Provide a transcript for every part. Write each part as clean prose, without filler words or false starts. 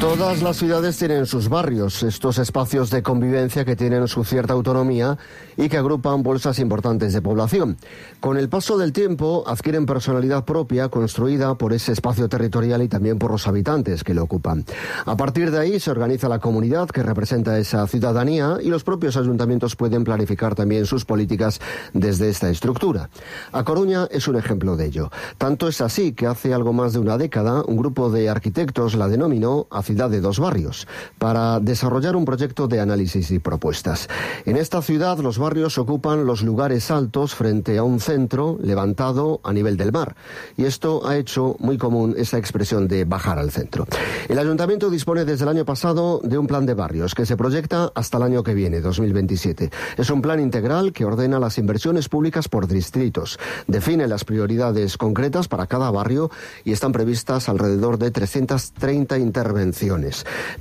Todas las ciudades tienen sus barrios, estos espacios de convivencia que tienen su cierta autonomía y que agrupan bolsas importantes de población. Con el paso del tiempo adquieren personalidad propia construida por ese espacio territorial y también por los habitantes que lo ocupan. A partir de ahí se organiza la comunidad que representa esa ciudadanía y los propios ayuntamientos pueden planificar también sus políticas desde esta estructura. A Coruña es un ejemplo de ello. Tanto es así que hace algo más de una década un grupo de arquitectos la denominó Ciudad de dos barrios, para desarrollar un proyecto de análisis y propuestas. En esta ciudad los barrios ocupan los lugares altos frente a un centro levantado a nivel del mar, y esto ha hecho muy común esa expresión de bajar al centro. El ayuntamiento dispone desde el año pasado de un plan de barrios que se proyecta hasta el año que viene, 2027. Es un plan integral que ordena las inversiones públicas por distritos, define las prioridades concretas para cada barrio y están previstas alrededor de 330 intervenciones.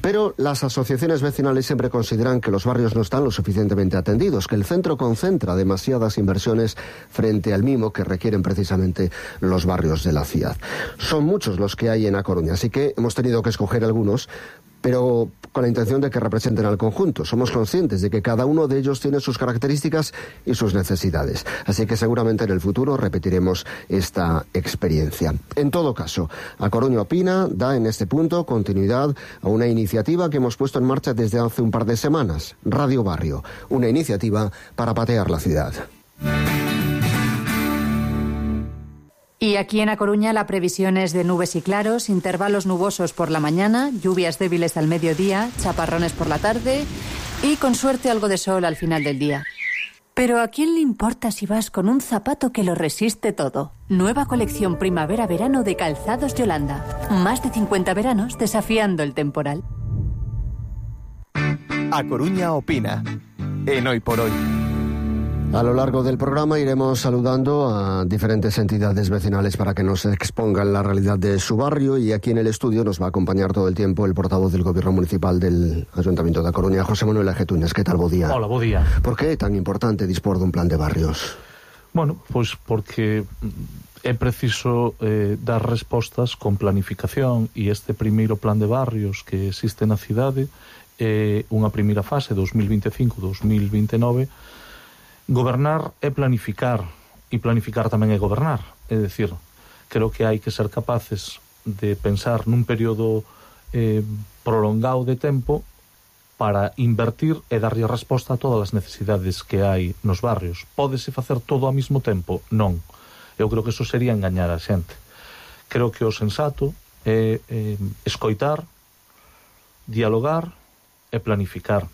Pero las asociaciones vecinales siempre consideran que los barrios no están lo suficientemente atendidos, que el centro concentra demasiadas inversiones frente al mimo que requieren precisamente los barrios de la ciudad. Son muchos los que hay en A Coruña, así que hemos tenido que escoger algunos, pero con la intención de que representen al conjunto. Somos conscientes de que cada uno de ellos tiene sus características y sus necesidades. Así que seguramente en el futuro repetiremos esta experiencia. En todo caso, A Coruña Opina da en este punto continuidad a una iniciativa que hemos puesto en marcha desde hace un par de semanas, Radio Barrio, una iniciativa para patear la ciudad. Y aquí en A Coruña la previsión es de nubes y claros, intervalos nubosos por la mañana, lluvias débiles al mediodía, chaparrones por la tarde y con suerte algo de sol al final del día. Pero ¿a quién le importa si vas con un zapato que lo resiste todo? Nueva colección primavera-verano de Calzados Yolanda. Más de 50 veranos desafiando el temporal. A Coruña Opina, en Hoy por Hoy. A lo largo del programa iremos saludando a diferentes entidades vecinales para que nos expongan la realidad de su barrio, y aquí en el estudio nos va a acompañar todo el tiempo el portavoz del Gobierno Municipal del Ayuntamiento de A Coruña, José Manuel Ajetunes. ¿Qué tal, bo día? Hola, bo día. ¿Por qué é tan importante dispor dun plan de barrios? Bueno, pois porque é preciso dar respostas con planificación, e este primeiro plan de barrios que existe na cidade é unha primeira fase, 2025-2029. Gobernar é planificar, e planificar tamén é gobernar. É dicir, creo que hai que ser capaces de pensar nun período prolongado de tempo para invertir e darlle resposta a todas as necesidades que hai nos barrios. Pódese facer todo ao mesmo tempo? Non. Eu creo que eso sería engañar a xente. Creo que o sensato é escoitar, dialogar e planificar.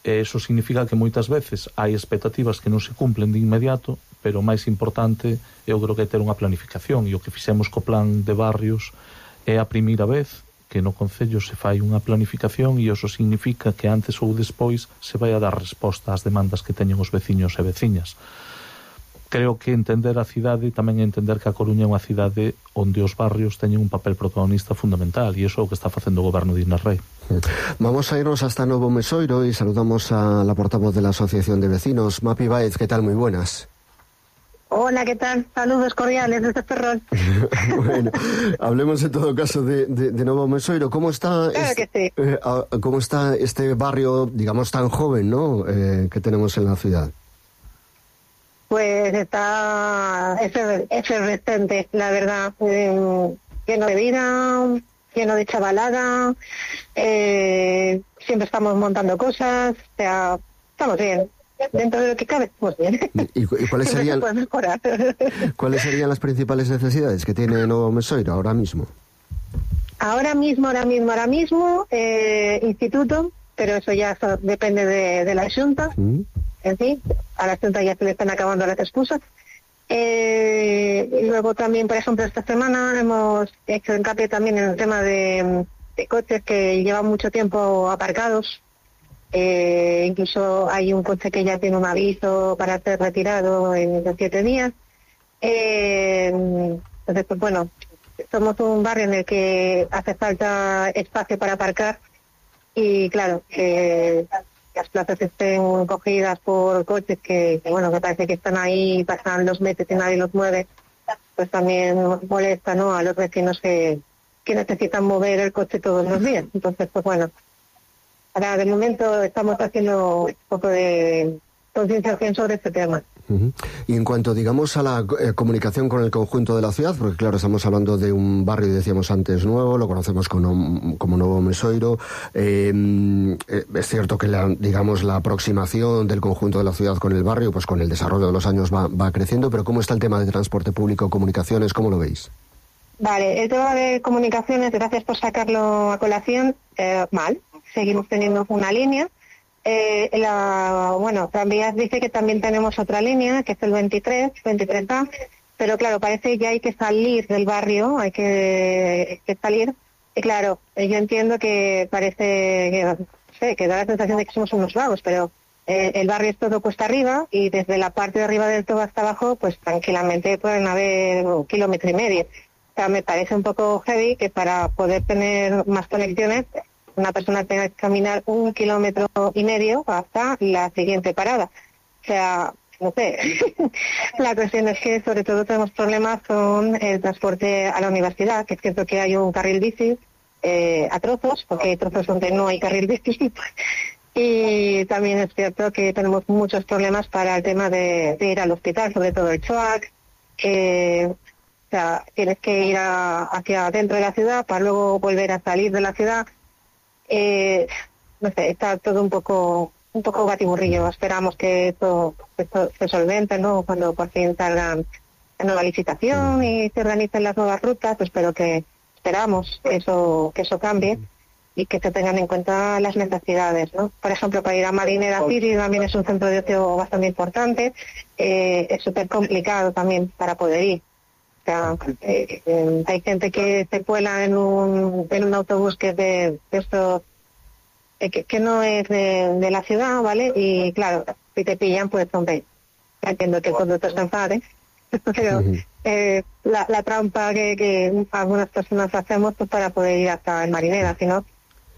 E iso significa que moitas veces hai expectativas que non se cumplen de inmediato, pero o máis importante eu creo que é ter unha planificación, e o que fixemos co plan de barrios é a primeira vez que no Concello se fai unha planificación, e iso significa que antes ou despois se vai a dar resposta ás demandas que teñen os veciños e veciñas. Creo que entender a cidade tamén é entender que A Coruña é unha cidade onde os barrios teñen un papel protagonista fundamental, e iso é o que está facendo o goberno de Inés Rei. Vamos a irnos hasta Novo Mesoiro y saludamos a la portavoz de la Asociación de Vecinos, Mapi Baez. ¿Qué tal? Muy buenas. Hola, ¿qué tal? Saludos cordiales desde Ferrol. Bueno, hablemos en todo caso de Novo Mesoiro. ¿Cómo está, ¿cómo está este barrio, digamos, tan joven, ¿no? Que tenemos en la ciudad? Pues está efervescente, la verdad, lleno de vida, lleno de chavalada, siempre estamos montando cosas, o sea, estamos bien, dentro de lo que cabe, estamos bien. ¿Y cuáles serían, cuáles serían las principales necesidades que tiene Novo Mesoiro ahora mismo? Ahora mismo, instituto, pero eso ya depende de la Junta. En fin, a la Junta ya se le están acabando las excusas. Y luego también, por ejemplo, esta semana hemos hecho hincapié también en el tema de coches que llevan mucho tiempo aparcados. Incluso hay un coche que ya tiene un aviso para ser retirado en 7 días. Entonces, pues bueno, somos un barrio en el que hace falta espacio para aparcar, y claro, las plazas estén cogidas por coches que bueno, que parece que están ahí, pasan los meses y nadie los mueve, pues también molesta, ¿no?, a los vecinos que que necesitan mover el coche todos los días. Entonces, pues bueno, ahora de momento estamos haciendo un poco de concienciación sobre este tema. Y en cuanto, digamos, a la comunicación con el conjunto de la ciudad, porque claro, estamos hablando de un barrio, decíamos antes, nuevo, lo conocemos como Novo Mesoiro, es cierto que la aproximación del conjunto de la ciudad con el barrio, pues con el desarrollo de los años va creciendo, pero ¿cómo está el tema de transporte público, comunicaciones, cómo lo veis? Vale, el tema de comunicaciones, gracias por sacarlo a colación, mal, seguimos teniendo una línea. Tranvías dice que también tenemos otra línea, que es el 23A, pero claro, parece que hay que salir del barrio, hay que salir, y claro, yo entiendo que parece que da la sensación de que somos unos vagos, pero el barrio es todo cuesta arriba, y desde la parte de arriba del todo hasta abajo, pues tranquilamente pueden haber 1,5 kilómetros. O sea, me parece un poco heavy que para poder tener más conexiones una persona tenga que caminar 1,5 kilómetros hasta la siguiente parada. O sea, no sé. La cuestión es que sobre todo tenemos problemas con el transporte a la universidad, que es cierto que hay un carril bici a trozos, porque hay trozos donde no hay carril bici. Y también es cierto que tenemos muchos problemas para el tema de ir al hospital, sobre todo el CHOAC. O sea, tienes que ir hacia dentro de la ciudad para luego volver a salir de la ciudad. No sé, está todo un poco batiburrillo. Esperamos que esto se solvente, ¿no? Cuando por fin salgan la nueva licitación y se organicen las nuevas rutas, pues esperamos que eso cambie y que se tengan en cuenta las necesidades, ¿no? Por ejemplo, para ir a Marinera City también es un centro de ocio bastante importante, es súper complicado también para poder ir. O sea, hay gente que se cuela en un autobús que es de esto, que no es de la ciudad, ¿vale? Y claro, si te pillan, pues hombre, entiendo que el conductor se enfade, pero la trampa que algunas personas hacemos pues para poder ir hasta el Marinera, si no,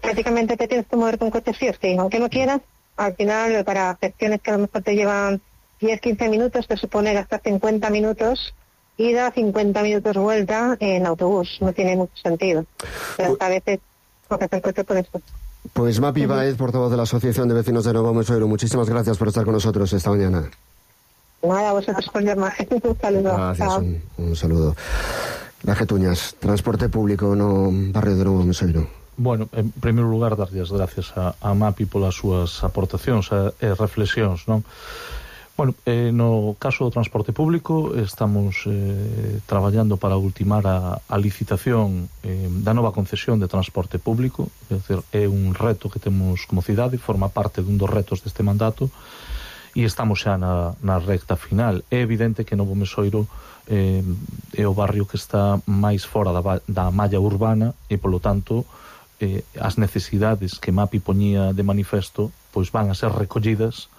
prácticamente te tienes que moverte un coche sí o sí, aunque no quieras, al final para gestiones que a lo mejor te llevan 10-15 minutos, te supone gastar 50 minutos ida, 50 minutos vuelta en autobús. No tiene mucho sentido. Pero a veces coges el coche por eso. Pues Mapi Baez, portavoz de la Asociación de Vecinos de Novo Mesoiro, muchísimas gracias por estar con nosotros esta mañana. Nada, vosotros por llamar. Un saludo. Gracias, un saludo. Laje Tuñas, transporte público no barrio de Novo Mesoiro. Bueno, en primeiro lugar, darlle as gracias a Mapi polas súas aportacións e reflexións, non? Bueno, no caso do transporte público estamos traballando para ultimar a licitación da nova concesión de transporte público, é dicir, é un reto que temos como cidade, forma parte dun dos retos deste mandato e estamos xa na recta final. É evidente que Novo Mesoiro é o barrio que está máis fora da malla urbana e, polo tanto, as necesidades que Mapi poñía de manifesto pois van a ser recollidas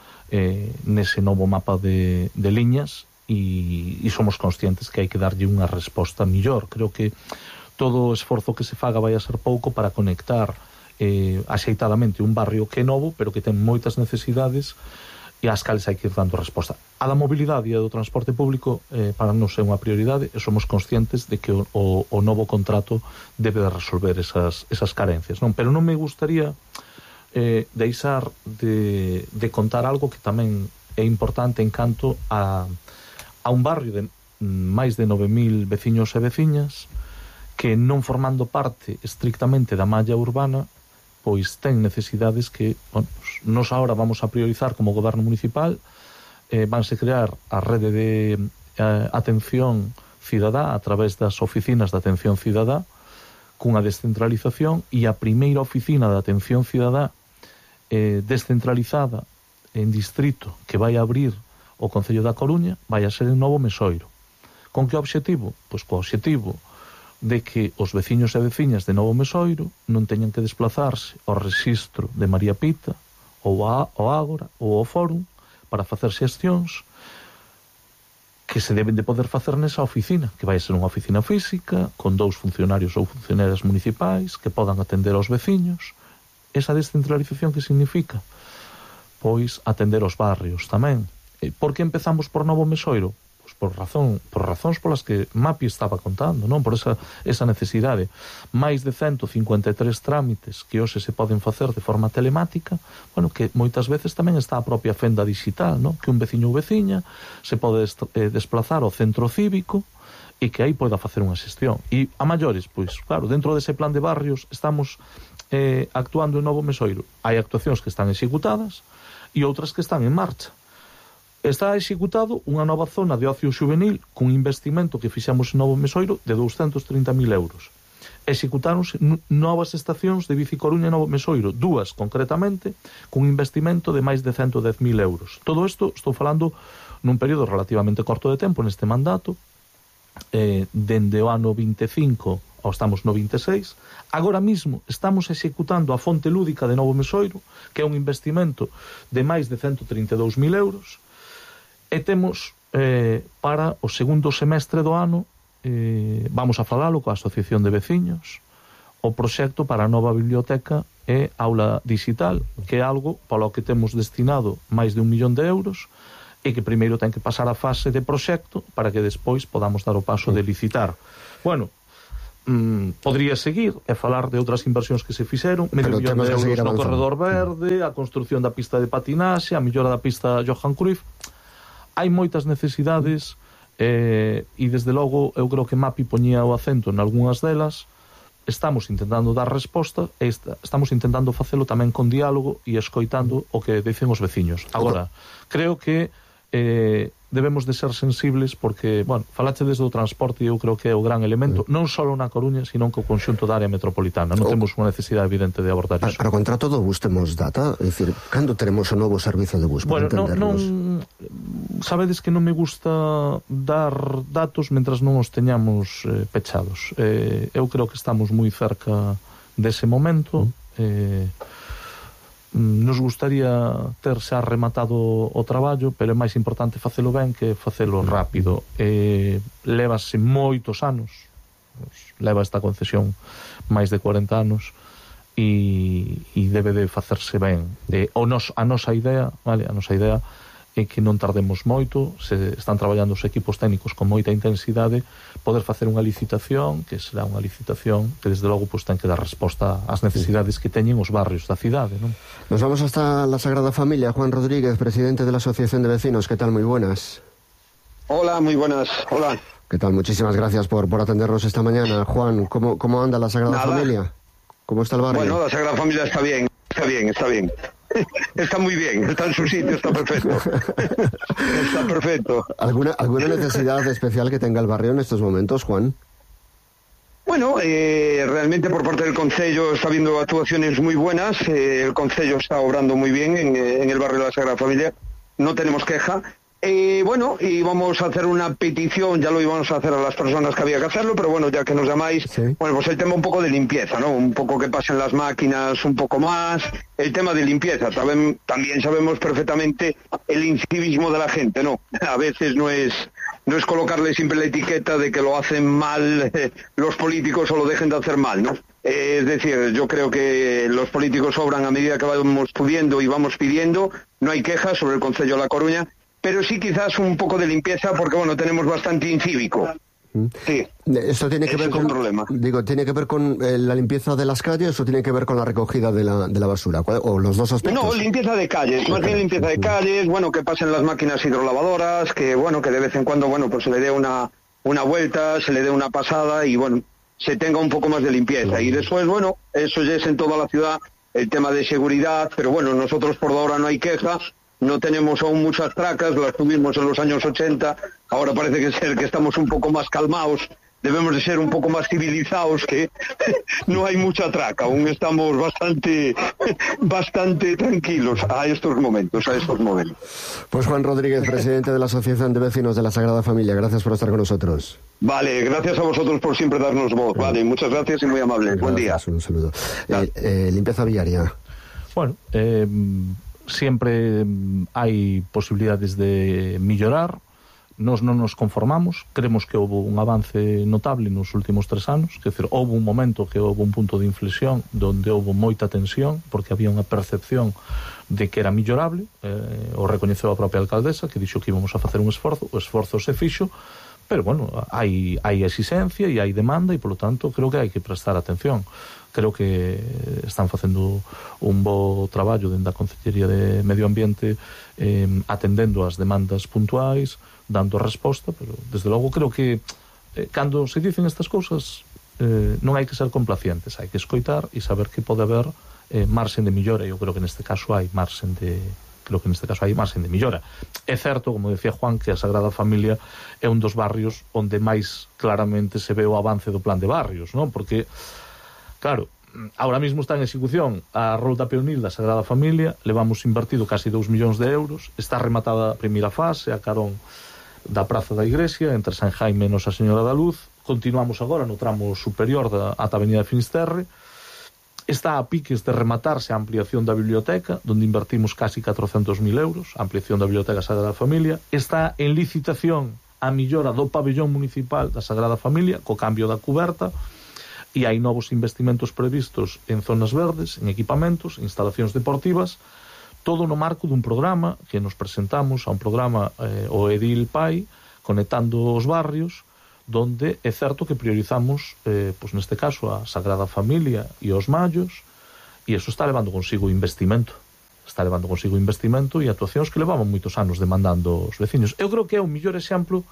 nese novo mapa de liñas e somos conscientes que hai que darlle unha resposta millor. Creo que todo o esforzo que se faga vai a ser pouco para conectar axeitadamente un barrio que é novo, pero que ten moitas necesidades e ás cales hai que ir dando resposta. A da mobilidade e do transporte público para nós é unha prioridade e somos conscientes de que o novo contrato debe de resolver esas carencias, non? Pero non me gustaría deixar de contar algo que tamén é importante en canto a un barrio de máis de 9.000 veciños e veciñas que non formando parte estrictamente da malla urbana pois ten necesidades que nos agora vamos a priorizar como goberno municipal. Vanse crear a rede de atención cidadá a través das oficinas de atención cidadá cunha descentralización e a primeira oficina de atención cidadá descentralizada en distrito que vai a abrir o Concello da Coruña vai a ser en Novo Mesoiro. Con que objetivo? Pois co objetivo de que os veciños e veciñas de Novo Mesoiro non teñan que desplazarse ao rexistro de María Pita ou ao Ágora ou ao Fórum para facer xestións que se deben de poder facer nesa oficina, que vai ser unha oficina física con 2 funcionarios ou funcionarias municipais que podan atender aos veciños. Esa descentralización que significa? Pois atender os barrios tamén. Por que empezamos por Novo Mesoiro? Pois por razóns polas que Mapi estaba contando, non? Por esa necesidade. Máis de 153 trámites que hoxe se poden facer de forma telemática, bueno, que moitas veces tamén está a propia fenda digital, non? Que un veciño ou veciña se pode desplazar ao centro cívico e que aí poida facer unha xestión. E a maiores, pois, claro, dentro dese plan de barrios estamos actuando en Novo Mesoiro. Hai actuacións que están executadas e outras que están en marcha. Está executado unha nova zona de ocio juvenil cun investimento que fixemos en Novo Mesoiro de 230.000 euros. Executáronse novas estacións de Bici Coruña en Novo Mesoiro, 2 concretamente, cun investimento de máis de 110.000 euros. Todo isto estou falando nun período relativamente corto de tempo neste mandato, dende o ano 25 ou estamos no 26. Agora mismo estamos executando a fonte lúdica de Novo Mesoiro, que é un investimento de máis de 132.000 euros, e temos para o segundo semestre do ano, vamos a falalo coa Asociación de Veciños, o proxecto para a nova biblioteca e aula digital, que é algo polo que temos destinado máis de 1 millón de euros, e que primeiro ten que pasar a fase de proxecto para que despois podamos dar o paso de licitar. Bueno, podría seguir e falar de outras inversións que se fixeron, medio millón de euros no corredor verde, a construción da pista de patinaxe, a mellora da pista Johan Cruyff. Hai moitas necesidades e desde logo eu creo que Mapi poñía o acento en algunhas delas. Estamos intentando dar resposta e estamos intentando facelo tamén con diálogo e escoitando o que dicen os veciños. Agora, creo que debemos de ser sensibles porque, bueno, falache desde o transporte e eu creo que é o gran elemento, non só na Coruña, sino que o conxunto da área metropolitana. Non temos unha necesidade evidente de abordar iso. Para o contrato do bus temos data? É dicir, cando teremos o novo servizo de bus? Bueno, non sabedes que non me gusta dar datos mentras non os teñamos pechados. Eu creo que estamos moi cerca dese momento. Nos gustaría ter xa rematado o traballo, pero é máis importante facelo ben que facelo rápido. Levase moitos anos, leva esta concesión máis de 40 anos e debe de facerse ben. A nosa idea, vale, a nosa idea é que non tardemos moito, se están traballando os equipos técnicos con moita intensidade, poder facer unha licitación, que será unha licitación que desde logo pues, ten que dar resposta ás necesidades que teñen os barrios da cidade, non? Nos vamos hasta la Sagrada Familia. Juan Rodríguez, presidente de la Asociación de Vecinos, ¿qué tal? Muy buenas. Hola, muy buenas. Hola. ¿Qué tal? Muchísimas gracias por atendernos esta mañana. Juan, ¿cómo anda la Sagrada Familia? ¿Cómo está el barrio? Bueno, la Sagrada Familia está bien. Está muy bien, está en su sitio, está perfecto. Está perfecto. ¿Alguna necesidad especial que tenga el barrio en estos momentos, Juan? Bueno, realmente por parte del Concello está habiendo actuaciones muy buenas. El Concello está obrando muy bien en el barrio de la Sagrada Familia. No tenemos queja. Bueno, y vamos a hacer una petición, ya lo íbamos a hacer a las personas que había que hacerlo, pero bueno, ya que nos llamáis, sí. Bueno, pues el tema un poco de limpieza, ¿no? Un poco que pasen las máquinas un poco más, el tema de limpieza. También sabemos perfectamente el incivismo de la gente, ¿no? A veces no es colocarle siempre la etiqueta de que lo hacen mal los políticos o lo dejen de hacer mal, ¿no? Es decir, yo creo que los políticos obran a medida que vamos pudiendo y vamos pidiendo, no hay quejas sobre el Concello de La Coruña, pero sí quizás un poco de limpieza porque, bueno, tenemos bastante incívico. Sí. ¿Esto tiene que ver con problema? Digo, ¿tiene que ver con la limpieza de las calles o tiene que ver con la recogida de la basura? ¿O los dos aspectos? No, limpieza de calles, más bien limpieza de calles, bueno, que pasen las máquinas hidrolavadoras, que bueno, que de vez en cuando, bueno, pues se le dé una vuelta, se le dé una pasada y bueno, se tenga un poco más de limpieza. Y después, bueno, eso ya es en toda la ciudad, el tema de seguridad, pero bueno, nosotros por ahora no hay quejas. No tenemos aún muchas tracas, las tuvimos en los años 80, ahora parece que estamos un poco más calmados, debemos de ser un poco más civilizados, que no hay mucha traca, aún estamos bastante tranquilos a estos momentos. Pues Juan Rodríguez, presidente de la Asociación de Vecinos de la Sagrada Familia, gracias por estar con nosotros. Vale, gracias a vosotros por siempre darnos voz, vale, muchas gracias y muy amables, buen día. Un saludo. Limpieza viaria. Bueno, siempre hai posibilidades de mellorar, nós non nos conformamos, creemos que houve un avance notable nos últimos 3 anos, quer dizer, houve un momento que houve un punto de inflexión onde houve moita tensión, porque había unha percepción de que era millorable, o recoñeceu a propia alcaldesa, que dixo que íbamos a facer un esforzo, o esforzo se fixo, pero, bueno, hai exigencia e hai demanda e, polo tanto, creo que hai que prestar atención. Creo que están facendo un bo traballo dentro da Consellería de Medio Ambiente, atendendo as demandas puntuais, dando resposta, pero desde logo creo que cando se dicen estas cousas non hai que ser complacientes, hai que escoitar e saber que pode haber marxen de millora. Eu creo que neste caso hai marxen de millora. É certo, como decía Juan, que a Sagrada Familia é un dos barrios onde máis claramente se ve o avance do plan de barrios, non? Porque, claro, ahora mismo está en execución a Ruta Peonil da Sagrada Familia, levamos invertido casi 2 millóns de euros, está rematada a primeira fase, a carón da Praza da Igrexa, entre San Jaime e Nosa Señora da Luz. Continuamos agora no tramo superior ata a Avenida de Finisterre. Está a piques de rematarse a ampliación da biblioteca, onde invertimos casi 400.000 euros, a ampliación da Biblioteca Sagrada Familia. Está en licitación a millora do pabellón municipal da Sagrada Familia, co cambio da cuberta, e hai novos investimentos previstos en zonas verdes, en equipamentos, instalacións deportivas, todo no marco dun programa que nos presentamos, a un programa o Edil Pai, conectando os barrios, donde é certo que priorizamos, pois neste caso, a Sagrada Familia e os mallos, e iso está levando consigo investimento. Está levando consigo investimento e actuacións que levaban moitos anos demandando os veciños. Eu creo que é un mellor exemplo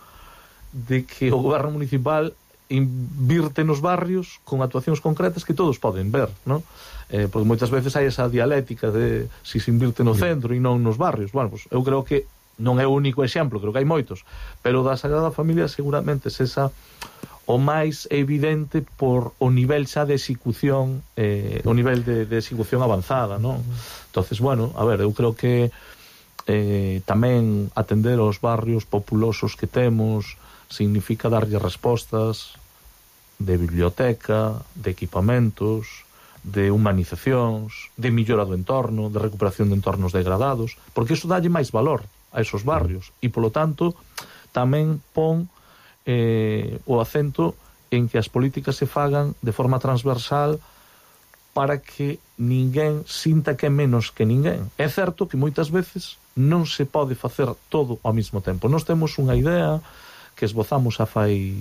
de que o goberno municipal invirte nos barrios con actuacións concretas que todos poden ver, non? Porque moitas veces hai esa dialéctica de si se invirte no centro e non nos barrios. Bueno, pues eu creo que non é o único exemplo, creo que hai moitos, pero da Sagrada Familia seguramente é esa o máis evidente por o nivel xa de execución, o nivel de execución avanzada, non? Entonces, bueno, a ver, eu creo que tamén atender aos barrios populosos que temos significa darlle respostas de biblioteca, de equipamentos, de humanizacións, de millora do entorno, de recuperación de entornos degradados, porque iso dalle máis valor a esos barrios e, polo tanto, tamén pon o acento en que as políticas se fagan de forma transversal para que ninguén sinta que é menos que ninguén. É certo que moitas veces non se pode facer todo ao mesmo tempo. Nós temos unha idea que esbozamos a fai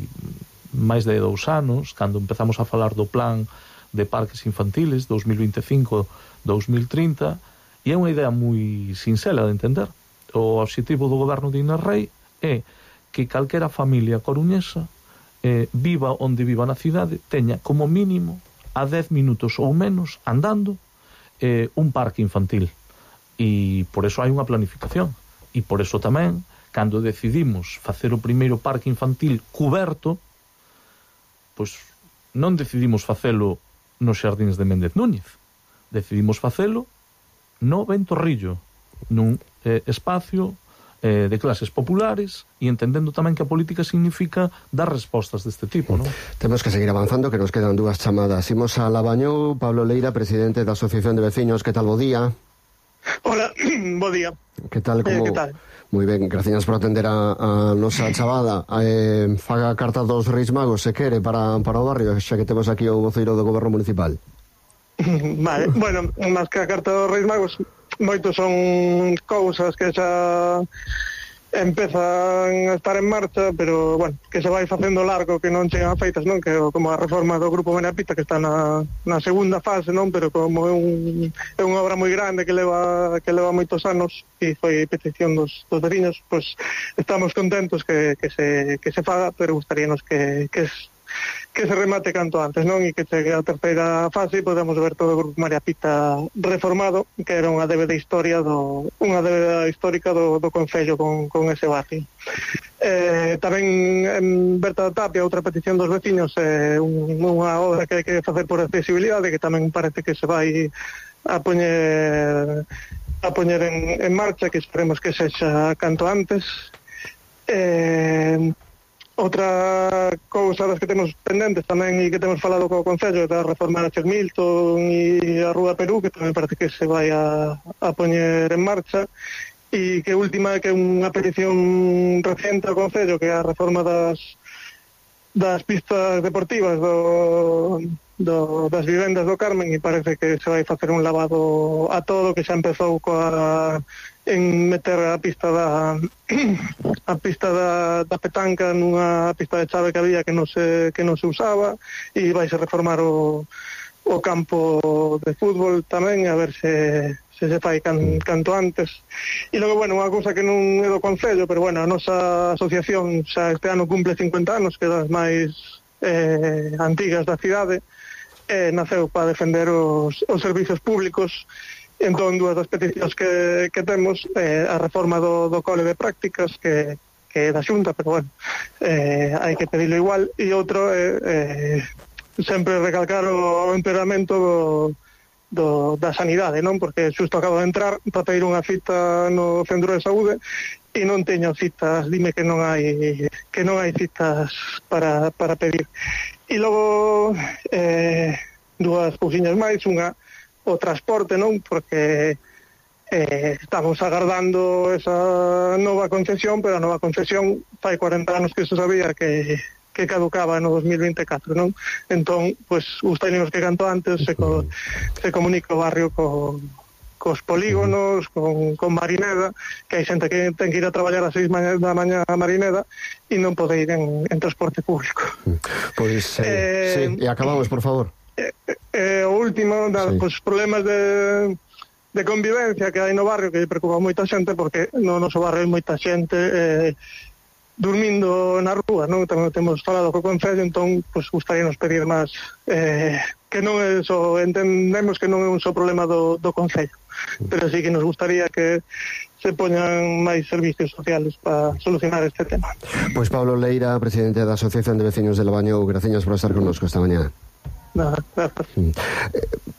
máis de 2 anos, cando empezamos a falar do plan de parques infantiles 2025-2030, e é unha idea moi sinxela de entender. O obxectivo do goberno de Inés Rei é que calquera familia coruñesa viva onde viva na cidade teña como mínimo a 10 minutos ou menos andando un parque infantil, e por eso hai unha planificación, e por eso tamén cando decidimos facer o primeiro parque infantil cuberto, pois non decidimos facelo nos xardíns de Méndez Núñez, decidimos facelo no Ventorrillo, nun espacio de clases populares, e entendendo tamén que a política significa dar respostas deste tipo, non? Temos que seguir avanzando, que nos quedan 2 chamadas. Imos a Labañou. Pablo Leira, presidente da Asociación de Veciños. Que tal, bo día? Hola, bo día. Que tal, como... que tal? Moi ben, gracias por atender a nosa chamada. Faga a carta dos Reis Magos, se quere, para o barrio, xa que temos aquí o voceiro do goberno municipal. Vale, bueno, máis que a carta dos Reis Magos, moitos son cousas que xa empezan a estar en marcha, pero, bueno, que se vai facendo largo, que non chegan feitas, non? Que como a reforma do Grupo Benapita, que está na segunda fase, non? Pero como é unha obra moi grande que leva moitos anos e foi petición dos veciños, pois estamos contentos que se faga, pero gustaríanos que se remate canto antes, non? E que chegue a terceira fase e podemos ver todo o Grupo María Pita reformado, que era unha débeda histórica do Concello con ese barrio. Tamén Berta Tapia, outra petición dos veciños, unha obra que hai que facer por accesibilidade, que tamén parece que se vai a poñer en marcha, que esperemos que sexa canto antes. Outra cousa das que temos pendentes tamén e que temos falado co Concello é da reforma de Milton e a Rúa Perú, que tamén parece que se vai a poñer en marcha, e que última que é unha petición reciente ao Concello, que é a reforma das pistas deportivas das vivendas do Carmen, e parece que se vai facer un lavado a todo, que xa empezou en meter a pista da petanca nunha pista de chave que había que non se usaba, e vai se reformar o campo de fútbol tamén, a ver se fai canto antes. E logo, bueno, unha cousa que non é do Concello, pero bueno, a nosa asociación xa este ano cumple 50 anos, que é das máis antigas da cidade, naceu para defender os servizos públicos. Entón, dúas das peticións que temos, a reforma do cole de prácticas, que é da Xunta, pero bueno, hai que pedirlo igual, e outro sempre recalcar o empeoramento da sanidade, non? Porque xusto acabo de entrar para pedir unha cita no centro de saúde e non teño citas, dime que non hai citas para pedir. E logo dúas cousiñas máis, unha o transporte, non? Porque estamos agardando esa nova concesión, pero a nova concesión fai 40 anos que se sabía que caducaba no 2024, non? Entón, pues, gustaríamos que canto antes se comunique o barrio cos polígonos, con Marineda, que hai xente que ten que ir a traballar a 6 da mañá a Marineda e non pode ir en transporte público. Pois, sí, e acabamos, por favor. O último, pues, problemas de convivencia que hai no barrio, que preocupa moita xente, porque no noso barrio hai moita xente dormindo na rúa, non? Tamén temos falado co Concello, entón, pues, gustaríanos pedir máis, que non é só, entendemos que non é un só problema do Concello, pero sí que nos gustaría que se poñan máis servicios sociales para solucionar este tema. Pois Pablo Leira, presidente da Asociación de Veciños de Labañou, graciñas por estar connosco esta mañá. Nada, gracias.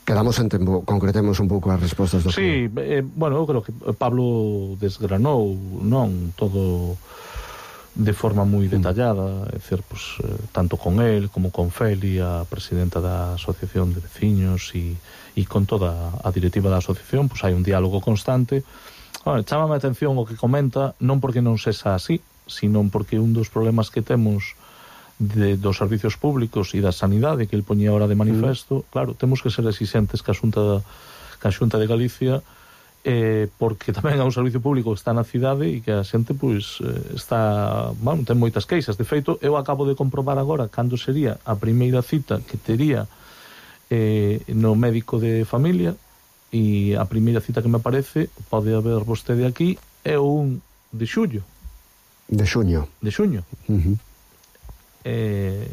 Quedamos en tempo, concretemos un pouco as respostas do Sí, bueno, eu creo que Pablo desgranou, non, todo de forma moi detallada, é dicir, pues, tanto con él como con Feli, a presidenta da Asociación de Veciños, e con toda a directiva da asociación, pues hai un diálogo constante. Bueno, chámame a atención o que comenta, non porque non sexa así, sino porque un dos problemas que temos dos servicios públicos e da sanidade, que el poñía ahora de manifesto, claro, temos que ser exigentes ca Xunta de Galicia, porque tamén é un servicio público que está na cidade e que a xente, pois, está, bueno, ten moitas queixas. De feito, eu acabo de comprobar agora cando sería a primeira cita que tería no médico de familia, e a primeira cita que me aparece, pode haber vostede aquí, é o 1 de xullo. De xuño.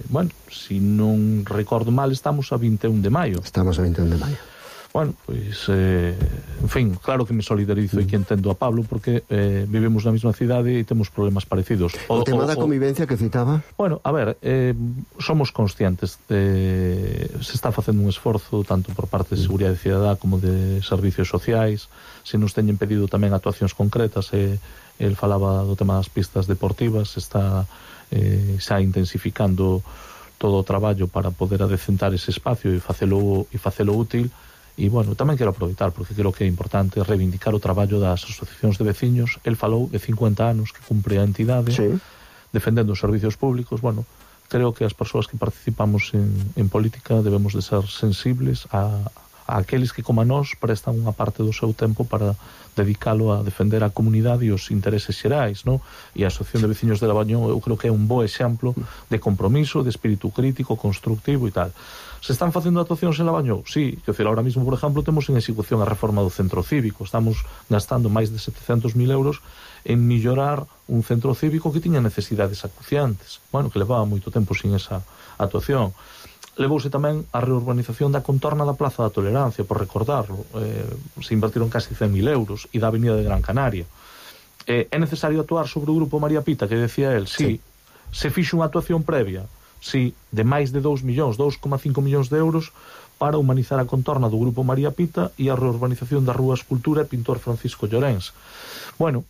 Bueno, se non recordo mal, estamos a 21 de maio. Estamos a 21 de maio. Bueno, pois, en fin, claro que me solidarizo e que entendo a Pablo, porque vivimos na mesma cidade e temos problemas parecidos. O tema da convivencia que citaba? Bueno, a ver, somos conscientes de se está facendo un esforzo tanto por parte de Seguridade Cidadá como de servicios sociais, se nos teñen pedido tamén actuacións concretas, el falaba do tema das pistas deportivas, se está xa intensificando todo o traballo para poder adecentar ese espacio e facelo útil. E, bueno, tamén quero aproveitar, porque creo que é importante reivindicar o traballo das asociacións de veciños. El falou de 50 anos que cumpre a entidade, sí, defendendo os servicios públicos. Bueno, creo que as persoas que participamos en política debemos de ser sensibles a aqueles que, como a nós, prestan unha parte do seu tempo para dedicalo a defender a comunidade e os intereses xerais, non? E a Asociación de Veciños de Labañou, eu creo que é un bo exemplo de compromiso, de espírito crítico, constructivo e tal. Se están facendo actuacións en Labañou? Sí, que decir, ahora mismo, por exemplo, temos en execución a reforma do centro cívico. Estamos gastando máis de 700.000 euros en mellorar un centro cívico que tiña necesidades acuciantes. Bueno, que levaba moito tempo sin esa actuación. Levouse tamén a reurbanización da contorna da Plaza da Tolerancia, por recordarlo. Se invertiron casi 100.000 euros, e da Avenida de Gran Canaria. É necesario actuar sobre o Grupo María Pita, que decía el, sí. Se fixo unha actuación previa, sí, de máis de 2 millóns, 2,5 millóns de euros para humanizar a contorna do Grupo María Pita e a reurbanización da Rúa Escultura e Pintor Francisco Llorens. Bueno,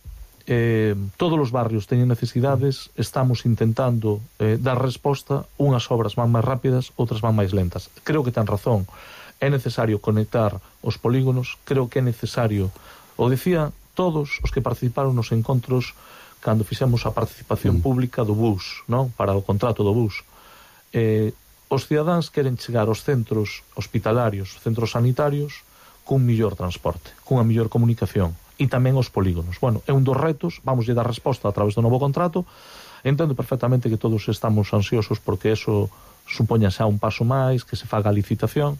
todos os barrios teñen necesidades, estamos intentando dar resposta, unhas obras van máis rápidas, outras van máis lentas. Creo que ten razón, é necesario conectar os polígonos, creo que é necesario, o decía todos os que participaron nos encontros cando fixemos a participación pública do bus, non? Para o contrato do bus. Os cidadáns queren chegar aos centros hospitalarios, centros sanitarios, cun millor transporte, cunha millor comunicación, e tamén os polígonos. Bueno, é un dos retos, vamos lle dar resposta a través do novo contrato. Entendo perfectamente que todos estamos ansiosos porque eso supoña xa un paso máis, que se faga a licitación,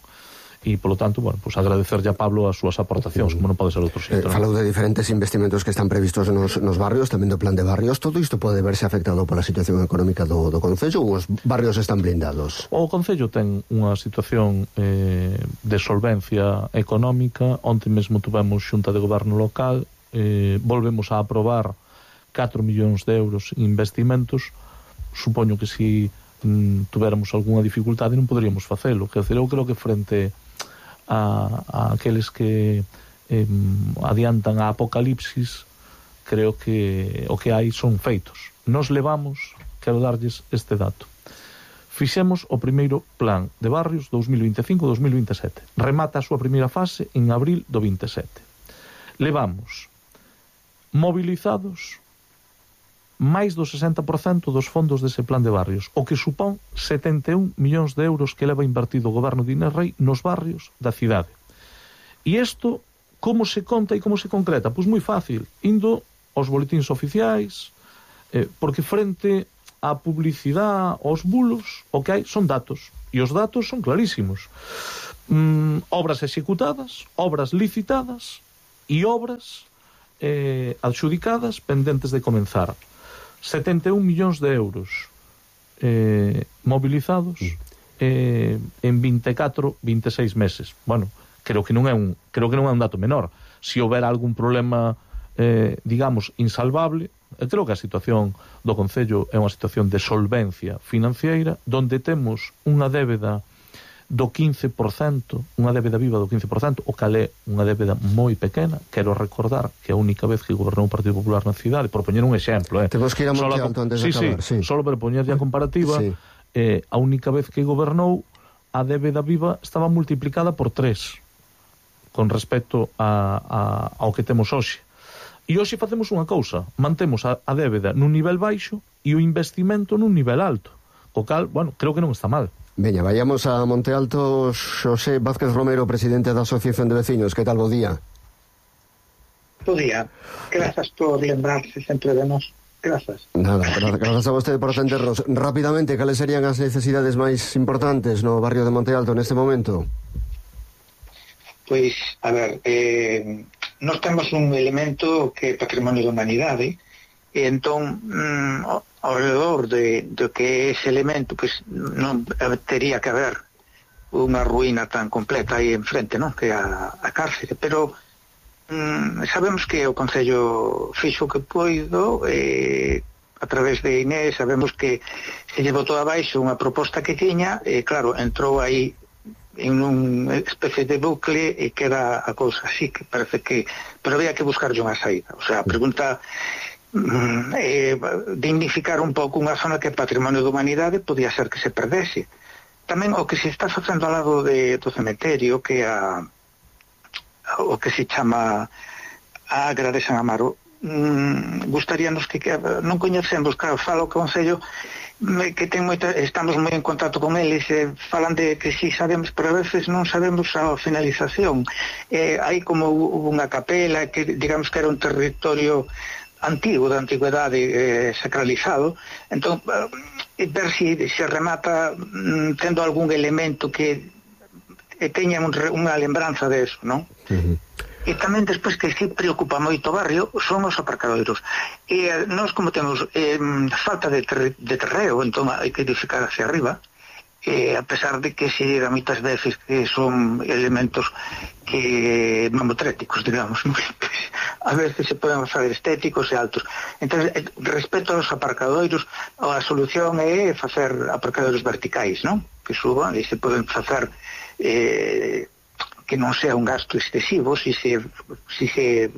e, polo tanto, bueno, pues agradecerlle a Pablo as súas aportacións, como non pode ser outro xeito. Falou de diferentes investimentos que están previstos nos barrios, tamén do plan de barrios. Todo isto pode verse afectado pola situación económica do Concello, ou os barrios están blindados? O Concello ten unha situación de solvencia económica. Onte mesmo tuvemos xunta de goberno local, volvemos a aprobar 4 millóns de euros en investimentos. Supoño que si tuveramos algunha dificultade non poderíamos facelo. Quer dizer, eu creo que frente a aqueles que adiantan a apocalipsis, creo que o que hai son feitos. Nos levamos, quero darlles este dato, fixemos o primeiro plan de barrios 2025-2027, remata a súa primeira fase en abril do 27. Levamos movilizados máis do 60% dos fondos dese plan de barrios, o que supón 71 millóns de euros que leva invertido o goberno de Inés Rei nos barrios da cidade. E isto, como se conta e como se concreta? Pois moi fácil, indo aos boletíns oficiais, porque frente á publicidade, aos bulos, o que hai son datos, e os datos son clarísimos. Obras executadas, obras licitadas e obras adxudicadas pendentes de comenzar. 71 millóns de euros movilizados en 24, 26 meses. Bueno, creo que non é un dato menor. Se houbera algún problema, digamos, insalvable, creo que a situación do Concello é unha situación de solvencia financiera, donde temos unha débeda do 15%, unha débeda viva do 15%, o cal é unha débeda moi pequena. Quero recordar que a única vez que gobernou o Partido Popular na cidade, por poñer un exemplo, temos que ir a Monte Alto antes de acabar. Solo para poñerlle a comparativa, a única vez que gobernou, a débeda viva estaba multiplicada por 3 con respecto ao que temos hoxe. E hoxe facemos unha cousa, mantemos a débeda nun nivel baixo e o investimento nun nivel alto, o cal, bueno, creo que non está mal. Veña, vayamos a Monte Alto. Xosé Vázquez Romero, presidente da Asociación de Veciños. Que tal, bo día? Bo día. Grazas por lembrarse sempre de nós. Grazas. Nada, grazas a vostede por atendernos. Rápidamente, cales serían as necesidades máis importantes no barrio de Monte Alto neste momento? Pois, a ver, nós temos un elemento que é patrimonio da humanidade, e entón ao redor do que é ese elemento, pois non tería que haber unha ruína tan completa aí enfrente, non? Que é a cárcere, pero sabemos que o Concello fixo o que poido, a través de Inés sabemos que se lle botou abaixo unha proposta que tiña, e claro, entrou aí en unha especie de bucle e queda a cousa así, que parece que, pero había que buscarlle unha saída. O sea, a pregunta dignificar un pouco unha zona que é patrimonio da humanidade, podía ser que se perdese. Tamén o que se está facendo ao lado do cementerio, que é o que se chama a Agra de San Amaro, gustaríanos que non coñecemos, claro, falo o Concello que estamos moi en contacto con eles, falan de que si sabemos, pero a veces non sabemos a finalización. Hai como unha capela que digamos que era un territorio antigo, da antigüedade, sacralizado. Entón, ver se remata tendo algún elemento que teña unha lembranza de eso, non? E tamén despois que si preocupa moito o barrio son os aparcadoiros. E nós, como temos falta de terreo, entón hai que edificar hacia arriba, a pesar de que se diga moitas veces que son elementos que mamotréticos, digamos, a veces se poden facer estéticos e altos. Entón, respecto aos aparcadoiros, a solución é facer aparcadoiros verticais, non? Que suban e se poden facer non sea un gasto excesivo, si se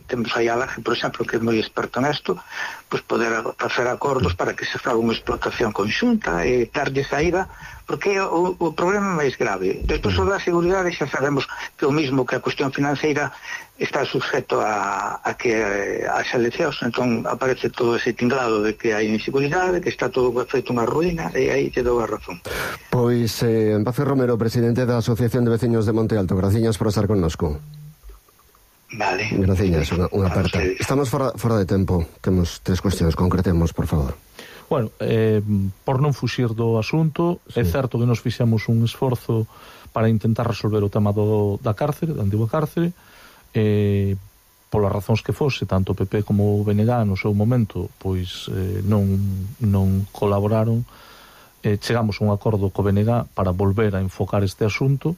temos aí a Laje, por exemplo, que é moi experto nesto, pues poder facer acordos para que se faga unha explotación conxunta e darlle saída, porque o problema máis grave. Despois o da seguridade xa sabemos que o mismo que a cuestión financeira está sujeto a que as eleccións, entón aparece todo ese tinglado de que hai inseguridade, que está todo feito unha ruína, e aí te dou a razón. Pois Paci Romero, presidente da Asociación de Veciños de Monte Alto, graciñas por estar connosco. Vale. Graciñas, unha aperta. Estamos fora de tempo, temos 3 cuestións, concretemos, por favor. Bueno, por non fuxir do asunto, sí. É certo que nos fixemos un esforzo para intentar resolver o tema da cárcere, da antigua cárcere, polas razóns que fose, tanto o PP como o BNG no seu momento, pois non colaboraron. Chegamos a un acordo co BNG para volver a enfocar este asunto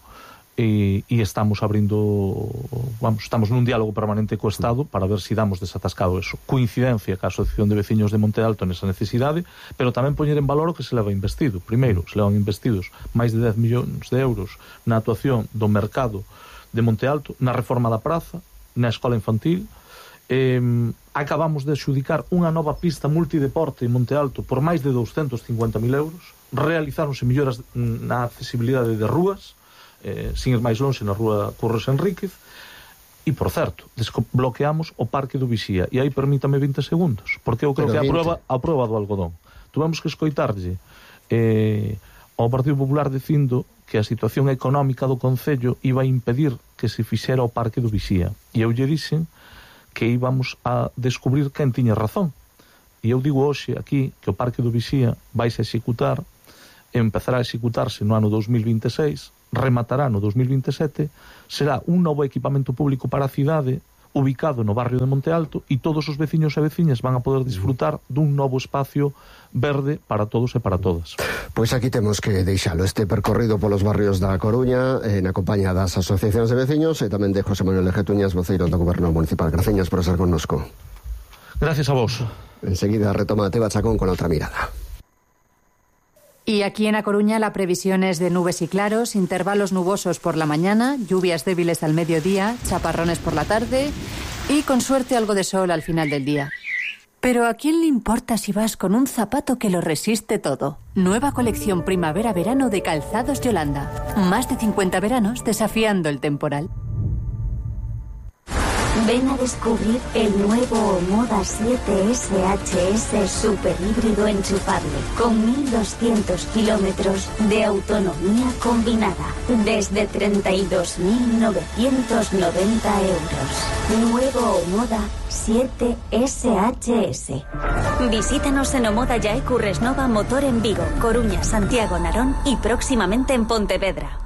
e estamos estamos nun diálogo permanente co Estado para ver se damos desatascado eso. Coincidencia ca Asociación de Veciños de Monte Alto nesa necesidade, pero tamén poñer en valor o que se leva investido. Primeiro, se levan investidos máis de 10 millóns de euros na actuación do mercado de Monte Alto, na reforma da praza, na escola infantil. Acabamos de adxudicar unha nova pista multideporte en Monte Alto por máis de 250.000 euros. Realizáronse melloras na accesibilidade de rúas, sin ir máis longe, na rúa Curros Enríquez. E, por certo, desbloqueamos o Parque do Vixía. E aí permítame 20 segundos, porque eu creo que a prova do algodón. Tuvemos que escoitarlle ao Partido Popular dicindo que a situación económica do Concello iba a impedir que se fixera o Parque do Vixía. E eu lle dixen que íbamos a descubrir quen tiña razón. E eu digo hoxe aquí que o Parque do Vixía vaise a executar, empezará a executarse no ano 2026, rematará no 2027, será un novo equipamento público para a cidade ubicado no barrio de Monte Alto, e todos os veciños e veciñas van a poder disfrutar dun novo espacio verde para todos e para todas. Pois aquí temos que deixalo, este percorrido polos barrios da Coruña, na compañía das asociacións de veciños, e tamén de José Manuel Lejetuñas, voceiro do Goberno Municipal. Graciñas por estar connosco. Gracias a vos. Enseguida retoma Teba Chacón con outra mirada. Y aquí en A Coruña la previsión es de nubes y claros, intervalos nubosos por la mañana, lluvias débiles al mediodía, chaparrones por la tarde y con suerte algo de sol al final del día. Pero ¿a quién le importa si vas con un zapato que lo resiste todo? Nueva colección primavera-verano de Calzados Yolanda. Más de 50 veranos desafiando el temporal. Ven a descubrir el nuevo Omoda 7 SHS super híbrido enchufable con 1.200 kilómetros de autonomía combinada desde 32.990 euros. Nuevo Omoda 7 SHS. Visítanos en Omoda Yae Curresnova Motor en Vigo, Coruña, Santiago, Narón y próximamente en Pontevedra.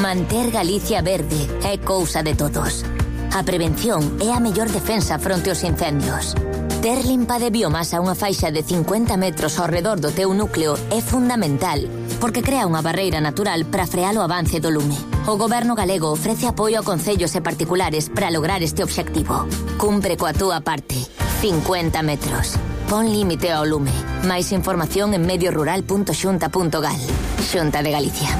Manter Galicia verde é cousa de todos. A prevención é a mellor defensa fronte aos incendios. Ter limpa de biomasa unha faixa de 50 metros ao redor do teu núcleo é fundamental, porque crea unha barreira natural para frear o avance do lume. O Goberno galego ofrece apoio a concellos e particulares para lograr este obxectivo. Cumpre coa túa parte. 50 metros. Pon límite ao lume. Máis información en mediorural.xunta.gal. Xunta de Galicia.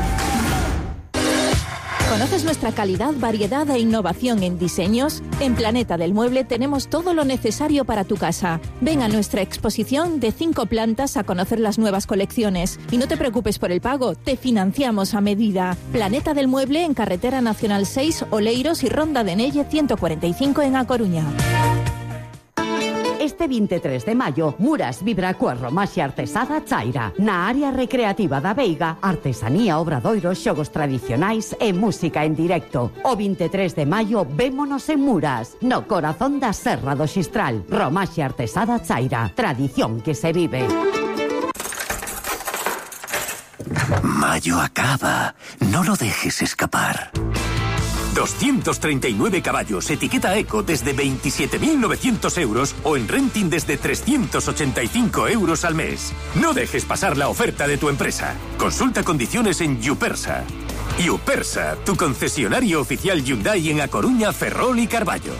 ¿Conoces nuestra calidad, variedad e innovación en diseños? En Planeta del Mueble tenemos todo lo necesario para tu casa. Ven a nuestra exposición de 5 plantas a conocer las nuevas colecciones. Y no te preocupes por el pago, te financiamos a medida. Planeta del Mueble en Carretera Nacional 6, Oleiros y Ronda de Nelle 145 en A Coruña. Este 23 de maio, Muras vibra coa romaxe artesada Chaira. Na área recreativa da Veiga, artesanía, obradoiros, xogos tradicionais e música en directo. O 23 de maio, vémonos en Muras, no corazón da Serra do Xistral. Romaxe artesada Chaira. Tradición que se vive. Mayo acaba. No lo dejes escapar. 239 caballos, etiqueta Eco desde 27.900 euros o en renting desde 385 euros al mes. No dejes pasar la oferta de tu empresa. Consulta condiciones en Yupersa. Yupersa, tu concesionario oficial Hyundai en A Coruña, Ferrol y Carballo.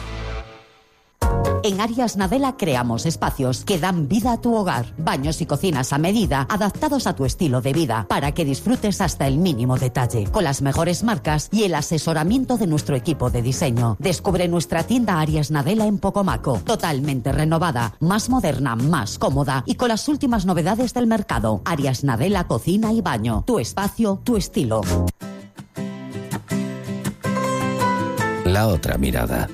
En Arias Nadela creamos espacios que dan vida a tu hogar. Baños y cocinas a medida, adaptados a tu estilo de vida, para que disfrutes hasta el mínimo detalle, con las mejores marcas y el asesoramiento de nuestro equipo de diseño. Descubre nuestra tienda Arias Nadela en Pocomaco, totalmente renovada, más moderna, más cómoda y con las últimas novedades del mercado. Arias Nadela Cocina y Baño. Tu espacio, tu estilo. La otra mirada.